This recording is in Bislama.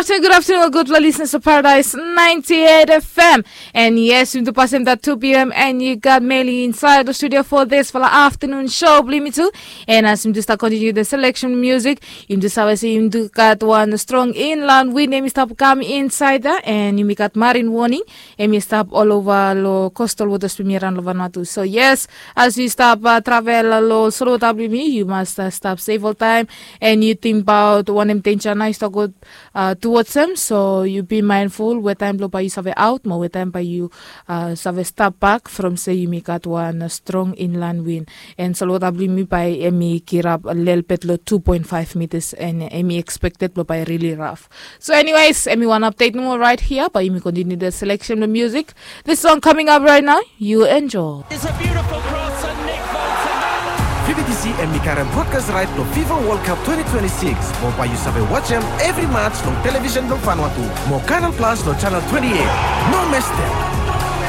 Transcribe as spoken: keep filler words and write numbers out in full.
Afternoon, good afternoon, good listeners of Paradise ninety-eight F M. And yes, yumi tu pasem that two p.m. and you got Meli inside the studio for this for the afternoon show, believe me too. And as yumi tu start continue the selection music, yumi tu save say yumi tu got one strong inland wind, yumi stop come inside there, and yumi got marine warning. Em i stap olova lo coastal waters blong yumi around lo Vanuatu. So yes, as yu stap uh, travel lo solo wota blong yumi, yu mas uh, stap safe oltaem. And yu tingbaot wanem danger nao i stap go uh, towards em. So yu be mindful wetaem blo bae yu save aot mo wetaem bae yu uh, save stap bak from se yumi gat wan uh, strong inland wind. And solo wota blong yumi bae em i kirap lelebet lo two point five meters and em i expected blo bae really rough. So anyways, em i wan update nomo right here, bae yumi continue the selection of music. This song coming up right now, you enjoy. It's a beautiful cross and Nick Bolton. Vivi T C em i karem broadcast right lo FIFA World Cup twenty twenty-six. Mo bae yu save watch em every match long television blong Vanuatu. Mo Canal Plus lo channel twenty-eight. No miss them.